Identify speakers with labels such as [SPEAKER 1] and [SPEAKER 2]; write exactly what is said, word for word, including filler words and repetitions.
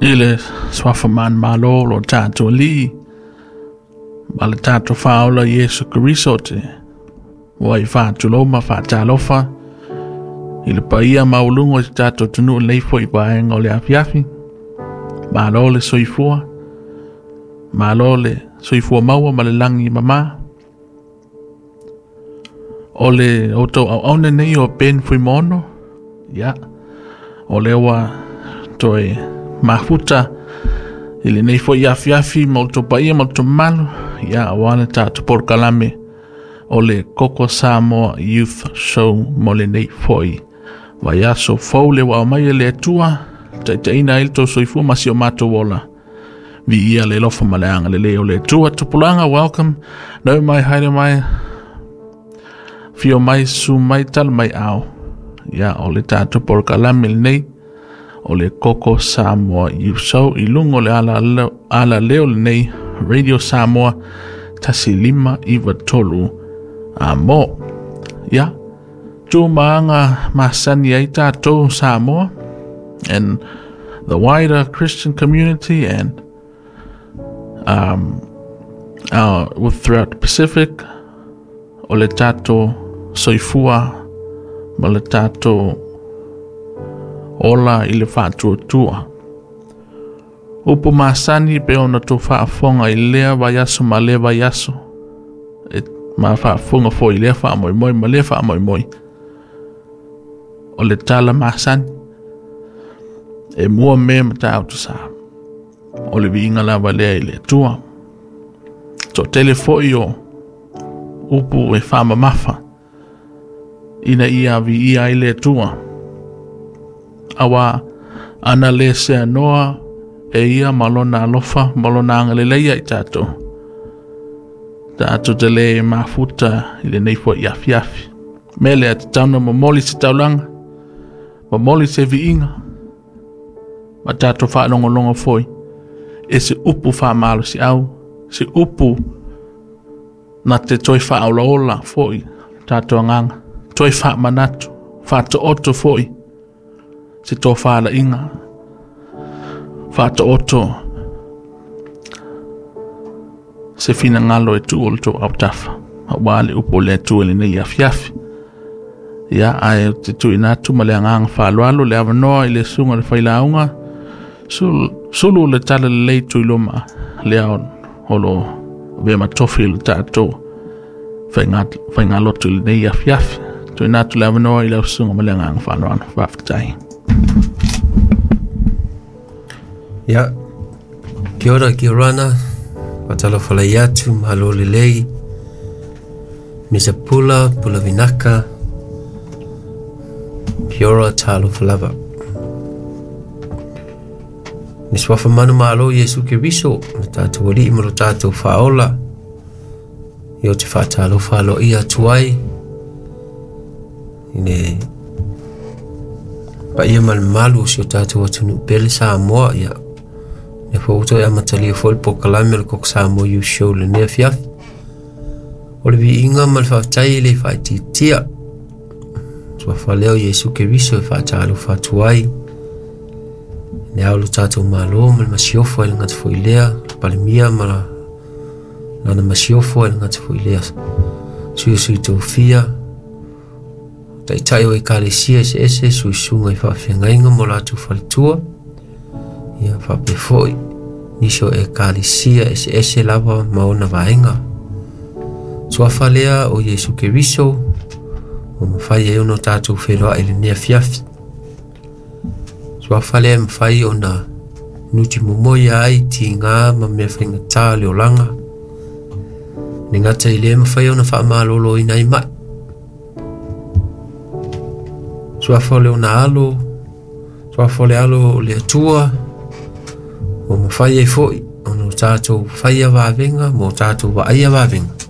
[SPEAKER 1] I le suafa manumalo o lo tatou Alii ma le tatou Faaola Iesu Keriso te ua i faatulou ma faatalofa i le paia maualuga o si tatou atunuu i lenei foi vaega o le afiafi. Malo le soifua, malo le soifua maua ma le lagi mama. O le outou auauna nei o Ben Fuimaono, ia, o lea ua toe mafuta i lenei foi afiafi ma outou paia ma outou mamalu, ia, aua le tatou polokalame o le Koko Samoa Youth Show mo lenei foi vaiaso fou le ua aumai e le Atua, taitaiina ai le tou soifua ma si o matou ola. Viia le alofa ma le agalelei o le Atua. Tupulaga, welcome. Nau mai, haere mai, fio mai, su mai, tala mai ao. Ia, o le tatou polokalame lenei o le Koko Samoa Youth Show i luga o le ala, ala leo lenei Radio Samoa tasi lima iwa tolu a mo. Ia, tu maanga masani ai tātou Samoa and the wider Christian community and um, uh, with throughout the Pacific, o le tātou soifua ma le tātou ola i le faatuatua. Upu masani pe ona tou faafofoga i lea vaiaso ma lea vaiaso. E ma faafofoga foi i lea faamoemoe ma lea faamoemoe. O le tala masani e mua mea matautu sa. O le viiga lava lea i le Atua. Toatele foi o upu e faamamafa ina ia viia ai le Atua. Aua ana le seanoa e ia ma lona alofa ma lona agalelei ia i tatou. Tatou te le mafuta i lenei foi afiafi. Mea lea tatau ona momoli se taulaga, momoli se viiga, ma tatou faalogologo foi e se upu faamalosiau, se upu na te toe faaolaola foi tatou agaga, toe faamanatu, faataoto foi se tofalaiga, faataoto se finagalo e tuu o le tou autafa, aua le upu o le Atua i lenei afiafi. Ia, ae ou te tuuina atu ma le agaga faaaloalo le avanoa i le susuga o le failauga, sulu, sulu le tala lelei Tuiloma lea o lo avea ma tofi i le tatou faigalotu i lenei afiafi. Tuuina atu le avanoa i lau susuga ma le agaga faaaloalo. Faafetai.
[SPEAKER 2] Ia, kia ora, kia orana, faatalofa lai atu, malo lelei, Misa Pula, Pula Vinaka, kia ora talofa lava. Le suafa manumalo Iesu Keriso, le tātou Alii ma lo tātou Faaola, i o te faatalofa aloaia atu ai, i le paia ma le mamalu o si o tātou atunuu pele Samoa, ia le foi ua toe amatalia foi le polokalame o le Koko Samoa Youth Show lenei afiafi. O le viiga ma le faafetai e le faaitiitia. Suafa lea o Iesu Keriso e faatalofa atu ai. Le ao lo tātou malo ma le masiofo e le gata foi lea, le palemia ma la, lana masiofo e le gata foi lea. Sui o sui tofia, taitai o ekalesia eseese, suisuga i faafeagaiga mo latou faletua, ia faapea foi nisi o ekalesia eseese lava ma ona vaega. Suafa lea o Iesu Keriso, o mafai ai ona tatou feiloai i lenei afiafi. Suafa lea e mafai ona nuti momoia ai tiga ma mea faigata o le olaga. Le gata i lea mafai ona faamaloloina ai mai. Suafa o le ona alo, suafa o le alo o le Atua, o mafai ai foi ona o tatou faia vavega ma o tatou vaaia vavega.